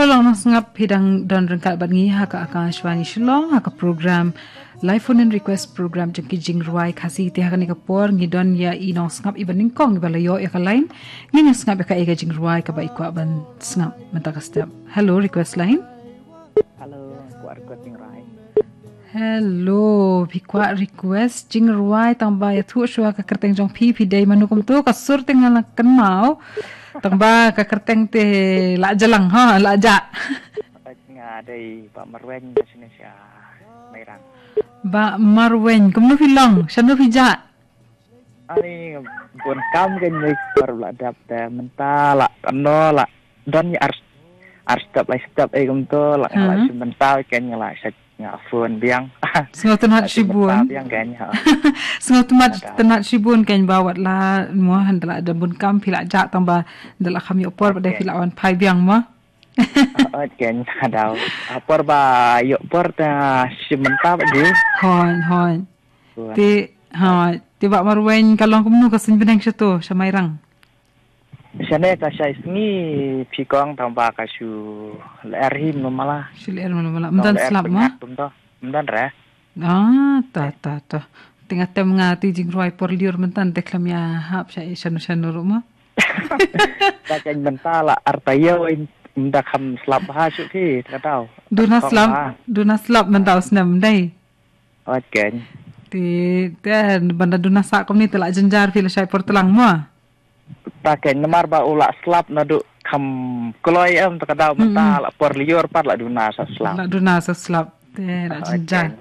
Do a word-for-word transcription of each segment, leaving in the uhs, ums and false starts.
Shillong nongsngap, phi dang don ryngkat bad ngi ha ka Akashvani Shillong, ha ka program Live Phone In Request, program jong ki jingrwai Khasi. Te ha kane ka por ngi don ïa i nongsngap iba nyngkong iba la ïoh ïa ka line. Ngin ïa sngap ïa kaei ka jingrwai kaba i kwah ban sngap mynta ka step. Hello, request line. Hello, kwah request jingrwai. Hello, phi kwah request jingrwai, tang ba ïathuh shuwa ka kyrteng jong phi, phi dei mano kumto, ka sur te nga la kynmaw. Tang ba ka kyrteng te la jalang, ha, la jah. Nga dei Bah Marweng, ba shane sha Mairang. Bah Marweng, kumno phi long, shano phi jah? Ani, bun kam kan ni par la dap te mynta la kano la don ïa ar, ar step, lai step, eh, kumto la nga la Hmm. shim mynta kan nga la sha, nga phone biang. Sngewtynnat shibun. Biang kan, ha. Sngewtynnat, Ada. Tynnat shibun kan ba wat la mo hynda la da bun kam phi la jah, tang ba da la kham ïoh por ba da phi la wan phai biang mo. Ot kan, ada. Apor ba ïoh por ta shim mynta ba ji. Hoi, hoi. Bun. Te, ha, te Bah Marweng ka long kumno ka suiñ bneng shato, sha Mairang? Shane ka shai sngi phi kong, tang ba ka shu lyer hi mala. Shu lyer mala. Ym don slap mo? Ym don re. Ah, ta, ta, ta. Te nga tem nga te jingrwai por lyiur mynta te khlem ïa hap sha shano shano ruh mo. Ta kan mynta la ar taïew mynta kham slap bha shuh phi, ka dau. Duna slap, duna slap mynta u snem dei. Ot kan. Te, te, ban da duna sah kumne te la jynjar phi la shai por tlang mo. Ta kan namar ba u la slap naduh kham kloi em, ta ka dau mynta la por lyiur pat la duna sa slap. La duna sa slap. Te la jynjar.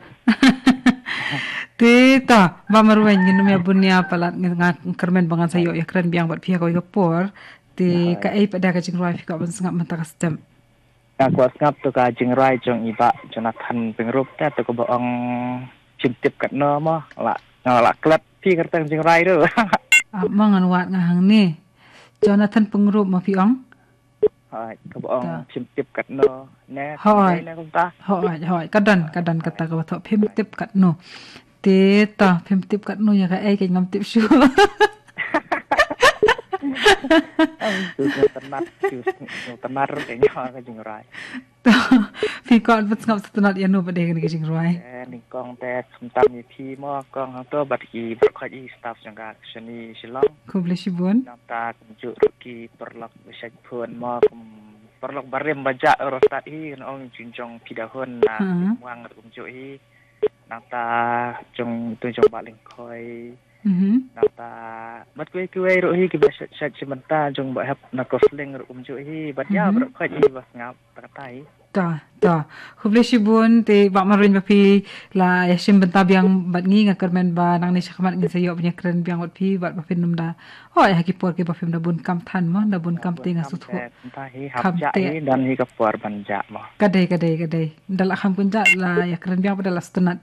Te ta, Bah Marweng, ngin ym ïa bun ïa palat, nga kyrmen ba ngan sa ïoh ïa kren biang bad phi ha kawei ka por. Te kaei pat de ka jingrwai phi kwah ban sngap mynta ka step? Nga kwah sngap to ka jingrwai jong i Bah Jonathan Pyngrope te, to kaba ong Shim Tip Katno mo, la, nga la klet phi kyrteng jingrwai ruh. Ah, mo ngan wad nga hangne. Jonathan Pyngrope mo phi ong? Hoi, kaba ong Shim Tip Katno ne. Hoi. Ne kumta. Hoi, hoi. Ka don, ka don kata kaba thoh Phim Tip Katno. Te ta, Phim Tip Katno ïa kaei, ka ngam tip shuh. Ai, tu sngewtynnat, tu sngewtynnat ruh ka ïa ka jingrwai. Phi kwah ban sngap sngewtynnat ïa no pat de kane ka jingrwai? Eh, nyngkong te khamtam ïa phi mo kong hangto bad ki baroh khoit i staff jong ka Akashvani Shillong. Khublei shibun. Nangta kumjuh ruh ki paralok ba shait phone mo, kum paralok barim ba jah ruh stad hi, kan ong jingjong phi da hun na Muang ruh kumjuh hi. Nangta jong tu jong Bah Lyngkhoi. Mhm. Nangta bad kiwei kiwei ruh hi kiba shait shait shim bynta jong Bah Hep na Kosling ruh kumjuh hi. Bad ïa baroh khoit hi ba sngap ta kata hi. Ta, ta. Khublei shibun te Bah Marweng ba phi la ïa shim bynta biang bad ngi, nga kyrmen ba nangne shakhmat ngin sa ïoh ban ïa kren biang bad phi bad ba phin nym da. Hoi, ha ki por kiba phim da bun kam than mo, da bun kam te nga sngewthuh. Kham te. Don hi ka por ban jah mo. Ka dei, ka dei, ka dei. Da la kham kun jah la ïa kren biang bad da la sngewtynnat.